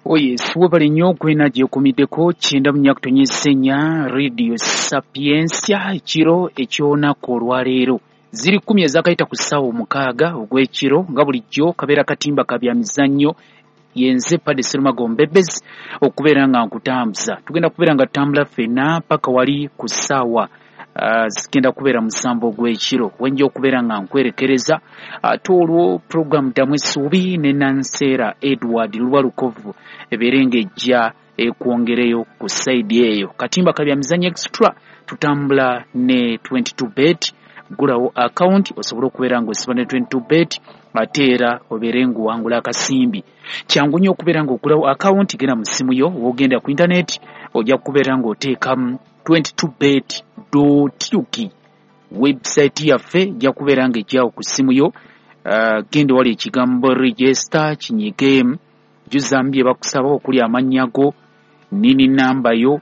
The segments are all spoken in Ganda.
Yes, webale nnyo kwena gyekumiddeko 94.4 Radio Sapientia. Ekiro eky'olunaku olwaleero ziri 10 ezakayita ku ssaawa 6 ogw'ekiro, nga bulijjo kabeera katimba ka bya mizannyo. Yenze Padde Serumago Mbebezi okubeera nga nkutambuza. Tugenda kubeera nga tutambula ffenna paka wali ku ssaawa zigenda kubeera 7 ogw'ekiro, wenja okubeera nga nkwerekereza. Ate olwo puroguramu Ddamu Essuubi ne Nanseera Edward Lubalukovu ebeere ng'ejja ekwongereyo ku sayidi eyo. Katimba ka bya mizannyo extra, tutambula ne 22 bet. Gulawo akawunti osobole okubeera ng'osiba ne 22 bet, ate era obeere ng'owangula akasimbi. Kyangu nnyo okubeera ng'ogulawo akawunti. Genda mu ssimu yo, w'ogenda ku intaneti ojja kubeera ng'oteekamu 22bet.ug. Website yaffe ejja kubeera ng'ejjawo ku ssimu yo. Genda wali ekigambo register, kinyigeemu, jjuzaamu bye bakusaba okuli amannya go, nini namba yo,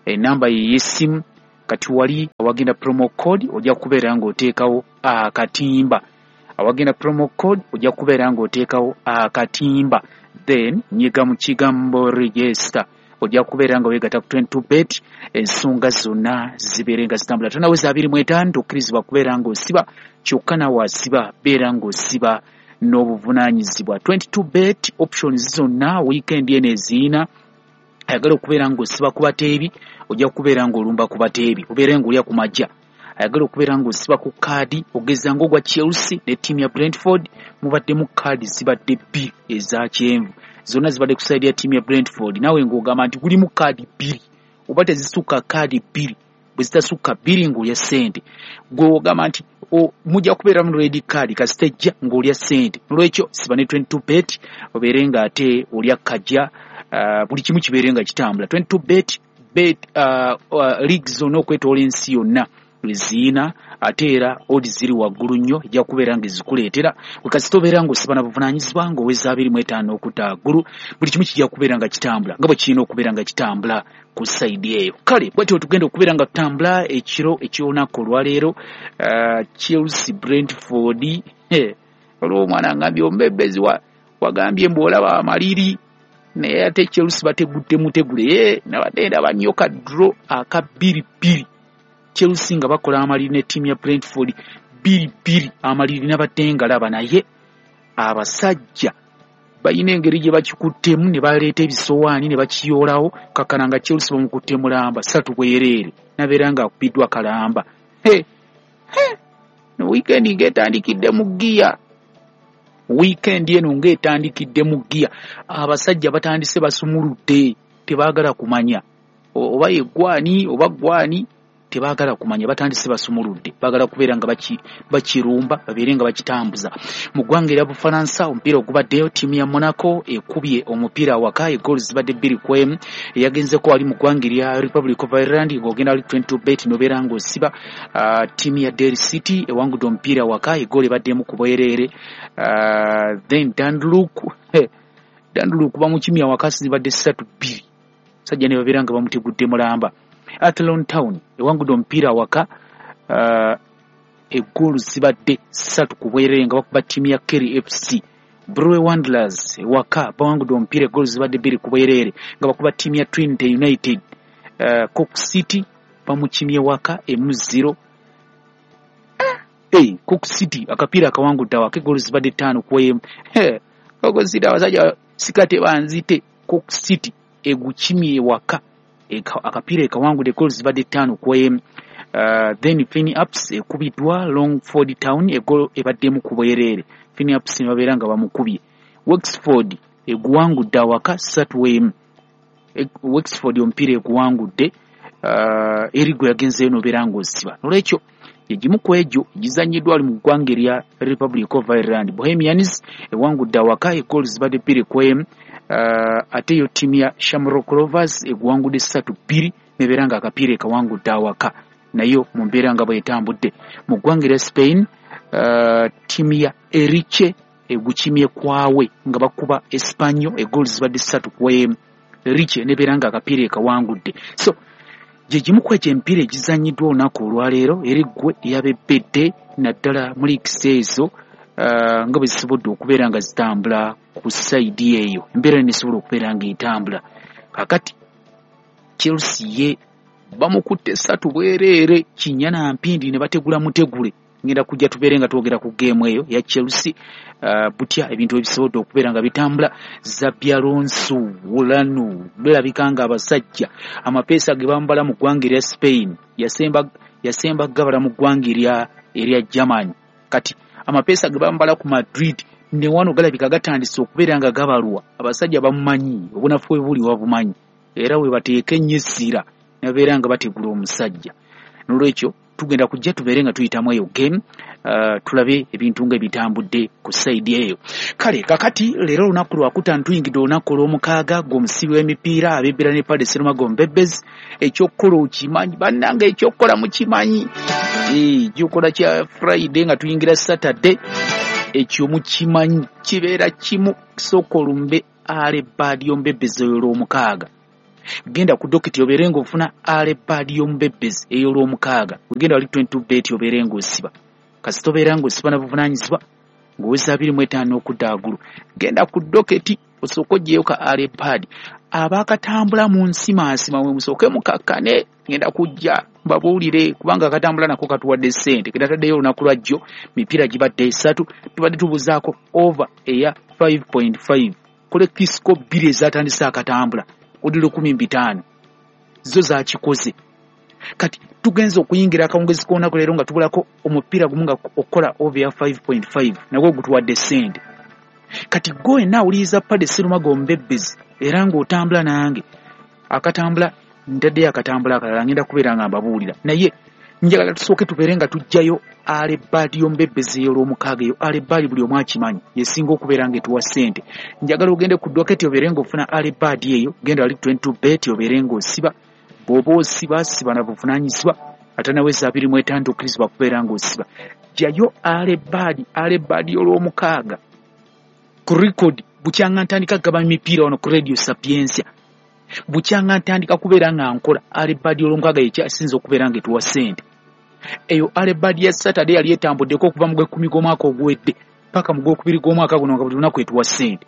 enamba ye ey'essimu. Kati wali awagenda promo code ojja kubeera ng'oteekawo akatimba. Awagenda promo code ojja kubeera ng'oteekawo akatimba, then nyiga mu kigambo register, ojja kubeera nga weegatta ku 22 bet, ensonga zonna zibeere nga zitambula. Tonaweza 25 tokkirizibwa kubeera ng'osiba, kyokka naawe asiba beera ng'osiba n'obuvunaanyizibwa. 22 bet options zonna weekend eno eziina. Ayagala okubeera ng'osiba ku bateebi, ojja kubeera ng'olumba ku bateebi, obeere ng'olya ku majja. Ayagala okubeera ng'osiba ku kaadi, ogeza ng'ogwa Chelsea ne ttiimu ya Brentford, mubaddemu kaadi zibadde 2 eza kyenvu, zonna zibadde ku sayidi ya ttiimu ya Brentford. Naawe ng'ogamba nti gulimu kaadi 2 oba tezisukka kaadi 2, bwe zitasukka 2 ng'olya ssente. Gwe ogamba nti mujja kubeeramu red card, kasita ejja ng'olya ssente. Nolwekyo siba ne 22 bet, obeere ng'ate olya kajja, buli kimu kibeere nga kitambula. 22 bet bet league zonna okwetoola ensi yonna eziina, ate era odi ziri waggulu nnyo, ejja kubeera ng'ezikuleetera. Kasita obeera ng'osiba na buvunaanyizibwa ng'oweza 25 okudda waggulu, buli kimu kijja kubeera nga kitambula nga bwe kirina okubeera nga kitambula ku sayidi eyo. Kale bwetyo tugenda okubeera nga tutambula ekiro eky'olunaku olwaleero. Chelsea Brentford, olwo omwana ngambye omubebezi wagambye mbu olaba amaliri, naye ate Chelsea bategudde mutegule. Nabadde ndaba nnyo ka draw aka 2-2, Chelsea nga bakola amaliri ne ttiimu ya Brentford 2-2, amaliri nabadde ngalaba, naye abasajja balina engeri gye bakikuttemu ne baleeta ebisowaani ne bakiyoolawo, kakkana nga Chelsea bamukutte mulamba 3 bwereere, nabeera ng'akubiddwa kalamba. Weekend ng'etandikidde mu ggiya, weekend eno ng'etandikidde mu ggiya, abasajja batandise basumuludde, tebaagala kumanya oba ye gwani oba gwani, tebaagala kumanya, batandise basumuludde, baagala kubeera nga bakirumba, babeere nga bakitambuza. Mu ggwanga erya Bufalansa omupiira ogubaddeyo, ttiimu ya Monaco ekubye omupiira awaka, eggoolo zibadde 2-1. Eyagenzeko wali mu ggwanga erya Republic of Ireland, ng'ogenda wali 22 bet n'obeera ng'osiba, ttiimu ya Derry City ewangudde omupiira awaka, eggoolo ebaddemu ku bwereere. Then Dundalk bamukimye awaka, zibadde 3-2, sajja ne babeera nga bamutegudde mulamba. Athlone Town ewangudde omupiira awaka, eggoolo zibadde 3 ku bwereere nga bakuba ttiimu ya Kerry FC. Brewe Wanderers ewaka bawangudde omupiira, eggoolo zibadde 2 ku bwereere nga bakuba ttiimu ya Trinity United. Cork City bamukimye waka 1-0. Cork City akapiira akawangudde awaka, eggoolo zibadde 5-1. Cork City abasajja sikate banzite. Cork City egukimye waka, akapiira ekawangudde, eggoolo zibadde 5-1. Then Finn Ups ekubiddwa Longford Town, eggoolo ebaddemu ku bwereere, Finn Ups ne babeera nga bamukubye. Wexford eguwangudde awaka 3-1. Wexford omupiira eguwangudde, eri gwe yagenzeeyo n'obeera ng'osiba. Nolwekyo egimu ku egyo gizannyiddwa ali mu ggwanga erya Republic of Ireland. Bohemians ewangudde awaka, eggoolo zibadde 2-1. Ate yo ttiimu ya Shamrock Rovers eguwangudde 3-2, nebeera nga akapiira ekawangudde awaka, nayo mu mbeera nga bw'etambudde. Mu ggwanga erya Spain, ttiimu ya Eriche egukimye kwawe nga bakuba Espanyol, eggoolo zibadde 3-1. Eriche nebeera nga akapiira ekawangudde. So gye gimu ku egyo emipiira egizannyiddwa olunaku olwaleero, eri ggwe eyabebbedde naddala mu leagues ezo. nga bwe zisobodde okubeera nga zitambula ku sayidi eyo, embeera nesobola okubeera nga etambula. Kakati Chelsea ye bamukutte 3 bwereere kinya na mpindi ne bategula mutegule. Ngenda kujja tubeere nga twogera ku geemu eyo ya Chelsea, butya ebintu ebisobodde okubeera nga bitambula. Xabi Alonso wulano birabika nga abasajja amapeesa ge bambala mu ggwanga erya Spain yasemba gabala mu ggwanga erya Germany. Kati amapeesa ge bambala ku Madrid ne wano galabika gatandise okubeera nga gabalwa. Abasajja bamumanyi, obunafu bwe buli wabumanyi, era we bateeka ennyo essira nabeera nga bategula omusajja. N'olwekyo tugenda kujja tubeere nga tuyitamu eyo game, tulabe ebintu nga ebitambudde ku sayidi eyo. Kale kakati leero olunaku lwakutaano, tuyingidde olunaku olw'omukaaga gw'omusibi w'emipiira abebbera ne Paddy Serumago Mbebezi. Ekyokukola okimanyi bannange, ekyokukola mukimanyi. Gyokola kya Friday nga tuyingira Saturday, ekyo mukimanyi kibeera kimu. Sooka olumbe alebaadi y'omubebbezi eyo olw'omukaaga. Genda ku dokiti obeere ng'ofuna alebaadi y'omubebbezi ey'olwomukaaga. Wegenda wali 22 bet obeere ng'osiba. Kasita obeera ng'osiba na buvunaanyizibwa ng'oweza 25 okudda waggulu. Genda ku doketi osooke oggyeyo ka alebaadi. Abaakatambula mu nsimaasima mwe musooke mukakkane, ngenda kujja mbabuulire kubanga akatambula nako katuwadde ssente. Ke nataddeyo olunaku lwa jjo, mipiira gibadde 3, tubadde tubuzaako over eya 5.5. Kole kisiko 2 ezatandise akatambula odi 15 zo zakikoze. Kati tugenze okuyingira akawungezi k'olunaku leero nga tubulako omupiira gumu nga okukola over ya 5.5 nagwo gutuwadde ssente. Kati gwe wenna awuliriza Paddy Serumago Mbebezi era ng'otambula nange, akatambula ntaddeyo akatambula akalala ngenda kubeera nga mbabuulira, naye njagala tusooke tubeere nga tuggyayo alebaadi y'omubebbezi ey'olwomukaaga. Eyo alebaadi buli omu akimanyi yesinga okubeera ng'etuwa ssente. Njagala ogende ku doketi obeere ng'ofuna alebaadi eyo, genda wali 22 bet obeere ng'osiba. Bw'oba osiba siba na buvunaanyizibwa, ate naweza 25 okkirizibwa kubeera ng'osiba. Ggyayo alebaadi, alebaadi y'olwomukaaga ku record. Bukyanga ntandika kugaba emipiira wano ku Radio Sapientia, bukyanga ntandika kubeera nga nkola alebaadi y'olwomukaaga yekyasinze okubeera ng'etuwa ssente. Eyo alebaadi ya Saturday yali etambuddeko okuva mu gw'ekkumi gw'omwaka oguwedde paka mu gw'okubiri gw'omwaka guno nga buli lunaku etuwa ssente,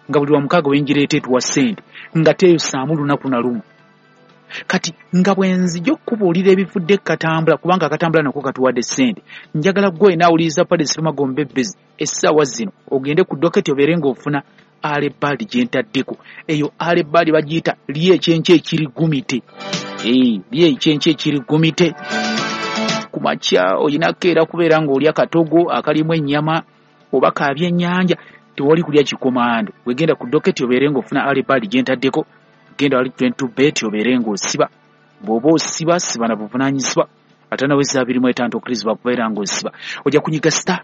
nga buli lwamukaaga wengireeta etuwa ssente, nga teeyosaamu lunaku na lumu. Kati nga bwe nzija okukubuulira ebivudde katambula, kubanga akatambula nako katuwadde ssente, njagala ggwe wenna awuliriza Paddy Serumago Mbebezi essaawa zino ogende ku doketi obeere ng'ofuna alebaadi gye ntaddeko. Eyo alebaadi bagiyita lye ekyenkya ekiri gumite. Lye ekyenkya ekiri gumite. Ku makya oyinako era kubeera ng'olya katogo akalimu ennyama oba ka byennyanja, tewali kulya kikomando. Wegenda ku doketi obeere ng'ofuna alebaadi gye ntaddeko, genda wali 22 bet obeere ng'osiba. Bw'oba osiba siba na buvunaanyizibwa, ate naweza 25 okkirizibwa kubeera ng'osiba. Ojja kunyiga star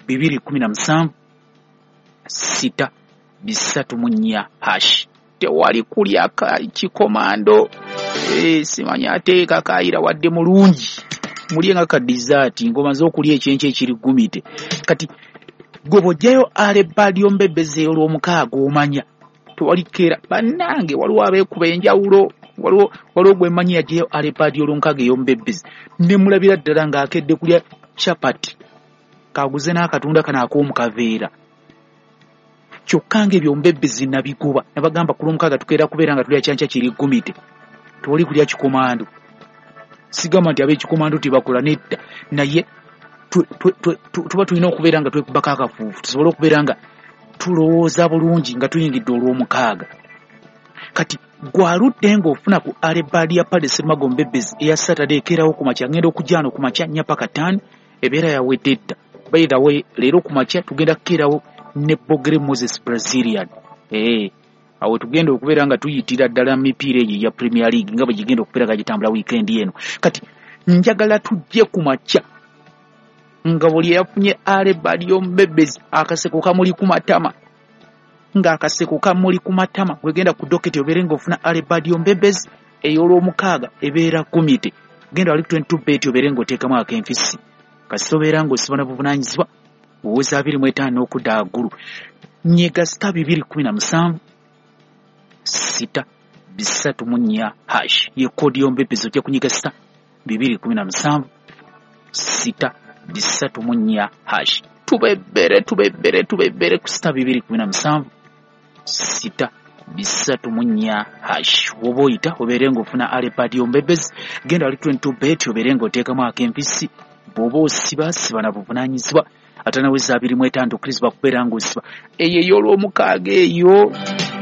217 6 304 hash. Tewali kulya kikomando. Simanyi ate kakaayira wadde mulungi, mulye nga ka dessert ng'omaze okulya ekyenkya ekiri gumite. Kati gwe bw'oggyayo alebaadi y'omubebbezi ey'olwomukaaga omanya tewali keera. Bannange waliwo abeekuba enjawulo, waliwo gwe mmanyi yaggyayo alebaadi y'olwomukaaga ey'omubebbezi ne mulabira ddala ng'akedde kulya chapati, kaguze n'akatunda kano ak'omu kaveera. Kyokka ng'ebyo omubebbezi nabiguba, nabagamba ku lwomukaaga tukeera kubeera nga tulya kyankya kiri gumite, tewali kulya kikomando. Sigamba nti ab'ekikomando tebakola, nedda, naye tuba tulina okubeera nga twekubako akafuufu tusobole okubeera nga tulowooza bulungi nga tuyingidde olw'omukaaga. Kati gwaludde ng'ofuna ku alebaadi ya Paddy Serumago Mbebezi eya Saturday ekeerawo ku makya, ngenda okujja wano ku makya 4 paka 5 ebeera yawedde dda. By the way, leero ku makya tugenda kukeerawo ne Bogere Moses Brazilian. Awo tugenda okubeera nga tuyitira ddala mipiira egyo egya Premier League nga bwe gigenda okubeera nga gitambula weekend eno. Kati njagala tujje ku makya nga buli eyafunye alebaadi y'omubebbezi akaseko kamuli ku matama, ng'akaseko kamuli ku matama. Gwegenda ku doketi obeere ng'ofuna alebaadi y'omubebbezi ey'olwomukaaga ebeera gumite. Genda wali 22 bet obeere ng'oteekamu ak'enfisi. Kasita obeera ng'osiba na buvunaanyizibwa oweza 25 okudda waggulu. Nyiga star 217 6 304 hash ye kodi y'omubebbezi. Ojja kunyiga star 217 6 304 hash. Tubebbere, tubebbere, tubebbere ku *217 *304 hash. Woba oyita obeere ng'ofuna alepadi ombebezi, genda wali 22 bet obeere ng'oteekamu ak'empisi. Bw'oba osiba, siba na buvunaanyizibwa. Atanaweza 25 okkirizibwa kubeera ng'osiba. Eyo ey'olwomukaaga eyo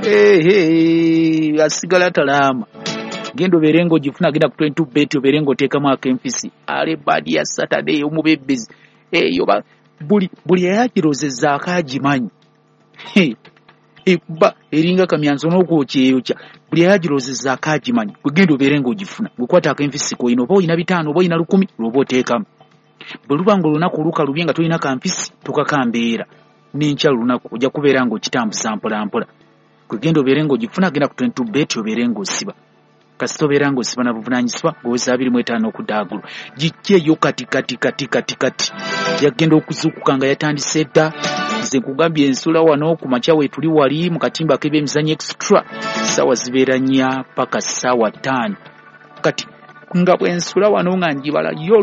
ehe asigala talaama. Genda obeere ng'ogifuna, genda ku 22 bet obeere ng'oteekamu ak'empisi. Alepadi ya Saturday ey'omubebezi eyo buli eyagirozezzaako agimanyi. Ekuba eringa kamyanso n'okwokyeyokya. Buli eyagirozezzaako agimanyi. Gwe genda obeere ng'ogifuna, gwe kwata ak'enfisi k'olina, oba olina 5 oba olina 1000 lw'oba oteekamu. Bwe luba ng'olunaku olukalubye nga tolina kanfisi, tokakambeera. N'enkya lunaku ojja kubeera ng'okitambuza mpola mpola. Gwe genda obeere ng'ogifuna, genda ku 22 bet obeere ng'osiba. Kasita obeera ng'osiba na buvunaanyizibwa, ng'oweza 25 okudda waggulu. Gijja eyo kati kati kati kati kati. Yagenda okuzuukuka nga yatandise dda. Nze nkugambye ensula wano ku makya weetuli wali mu katimba ak'ebyemizannyo extra. Ssaawa zibeera 4 paka ssaawa 5. Kati nga bwe nsula wano nga njibala yo.